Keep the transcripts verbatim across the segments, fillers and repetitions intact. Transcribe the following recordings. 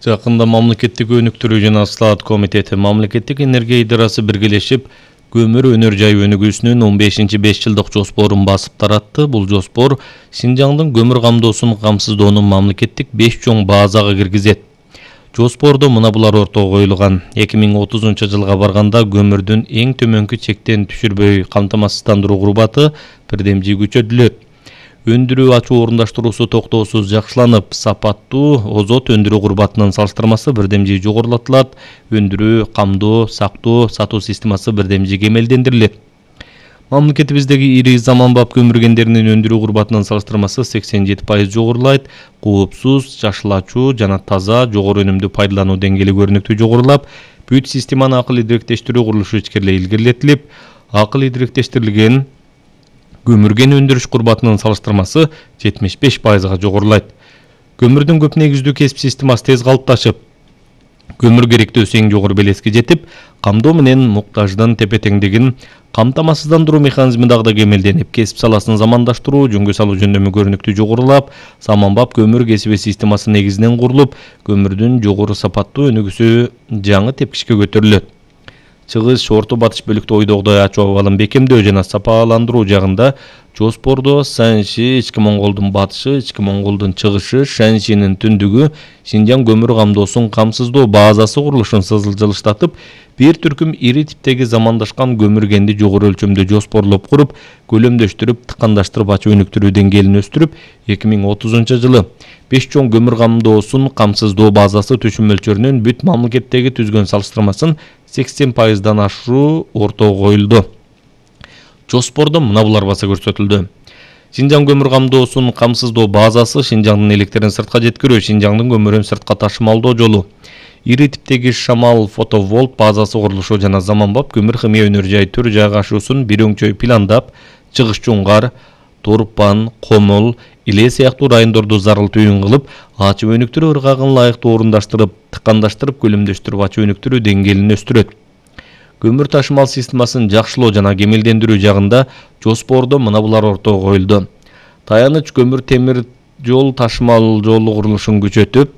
Жакында мамлекеттик өнүктүрүү жана Слаат комитети мамлекеттик энергия идарасы биргелешип, көмүр өнөр жай өнүгүүсүнүн он бешинчи беш жылдык жоспорун басып таратты. Бул жоспор Синжаңдын көмүр камдоосун камсыздоонун мамлекеттик беш чоң базага киргизет. Жоспордо мына булар ортого коюлган. эки миң отузунчу жылга барганда көмүрдүн эң төмөнкү чектен түшүрбөй камтамасыздандыруу курбаты бирдемжи күчөтүлөт. Өндүрүү ачуу орундаштыруусу токтоосуз жакшыланып, сапаттуу озот өндүрүү курбатынын салыштырмасы бирдемжи жогорулатылат. Өндүрүү, камдоо, сактоо, сатуу системасы бирдемжи кемелдендирилет. Мамлекетибиздеги ири заманбап көмүр кендеринин өндүрүү курбатынын салыштырмасы сексен жети пайыз жогорулайт. Коопсуз, жашылачуу жана таза, жогору өнүмдүү пайдалануу деңгээли көрүнүктүү жогорулап, бүт системаны акыл идиректештирүү курулушу ичкерилей илгерилетилип, акыл идиректештирилген көмүрген өндүрүш курбатынын салыштырмасы жетимиш беш пайызга жогорулайт. Көмүрдүн көп негиздүү кесип системасы тез калыпташып, көмүр керектөөсү эң жогору белеске жетип, камдоо менен муктаждын тепе-теңдигин камтамасыздандыруу механизми дагы да кемелденип, кесип саласын замандаштыруу, жөнгө салуу жөндөмү көрүнүктүү жогорулап, заманбап көмүр кесиби системасы негизинен курулуп, көмүрдүн жогору сапаттуу өнүгүүсү жаңы тепкичке көтөрүлөт. Чыгыш, орто батыш бөлүктө ойдогудай ачуу абалын бекемдөө жана сапаландыруу жагында жоспордо Санши, Ички Монголдун батышы, Ички Монголдун чыгышы, Шаншинин түндүгү Синжаң көмүр камдоосун камсыздоо базасы курулушун жылыштатып, бир түркүм ири типтеги замандашкан көмүр кенди жогору өлчөмдө жоспорлоп куруп, көлөмдөштүрүп, тыкандаштырып ачуу өнүктүрүү деңгээлин өстүрүп, эки миң отузунчу жылы беш чоң көмүр камдоосун камсыздоо базасы түшүм мөлчөрүнүн бүт мамлекеттеги түзгөн салыштырмасын сексен пайыздан ашыруу ортого коюлду. Жоспордо мына булар баса көрсөтүлдү. Синжаң көмүр камдоосун камсыздоо базасы Синжаңдын электерин сыртка жеткирүү, Синжаңдын көмүрүн сыртка ташымалдоо жолу, ири типтеги шамал фотоволт базасы курулушу жана заманбап көмүр химия өнөр жай төр жайгашуусун бир өңчөй пландап, Чыгыш Чуңгар, Торпан, Комул, Иле сыяктуу райондорду зарыл түйүн кылып, ачуу өнүктүрүү ыргагын лайыктуу орундаштырып, тыкандаштырып, көлөмдөштүрүп ачуу өнүктүрүү деңгээлин өстүрөт. Көмүр ташымал системасын жакшылоо жана кемелдендирүү жагында жоспордо мына булар ортого коюлду. Таяныч көмүр темир жол ташымал жолу курулушун күчөтүп,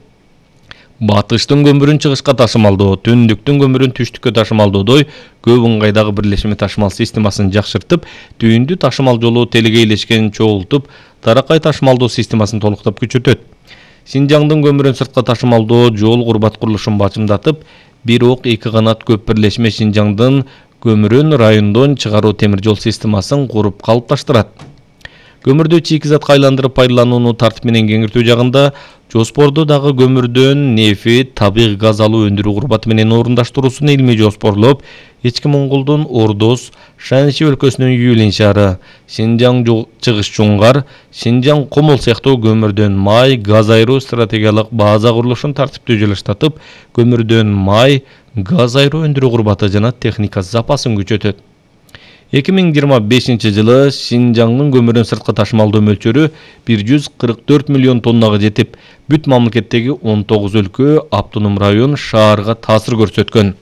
батыштын көмүрүн чыгышка ташымалдоо, түндүктүн көмүрүн түштүккө ташымалдоодой көп ыңгайдагы бирлешме ташымал системасын жакшыртып, түйүндү ташымал жолу телегейлешкен чогултуп, таракай ташымалдоо системасын толуктап күчөтөт. Синжаңдын көмүрүн сыртка ташымалдоо жол курбат курулушун бачымдатып, бир ок эки канат көп бирлешме Синжаңдын көмүрүн райондон чыгаруу темир жол системасын куруп калыпташтырат. Көмүрдү чийкизатка айландырып пайдаланууну тартип менен кеңиртүү жагында жоспордо дагы көмүрдөн нефит, табигый газ алуу өндүрүү курбаты менен орундаштыруусун илмий жоспорлоп, Ички Монголдун Ордос, Шанши өлкөсүнүн Юлин шаары, Синжаң Чыгыш Чуңгар, Синжаң Комул сыяктуу көмүрдөн май, газ айыруу стратегиялык база курулушун тартиптүү жылыштатып, көмүрдөн май, газ айыруу өндүрүү курбаты жана техника запасын күчөтөт. эки миң жыйырма бешинчи жылы Синжаңдын көмүрүн сыртка ташымалдоо мөлчөрү бир жүз кырк төрт миллион тоннага жетип, бүт мамлекеттеги он тогуз өлкө, автоном район, шаарга таасир көрсөткөн.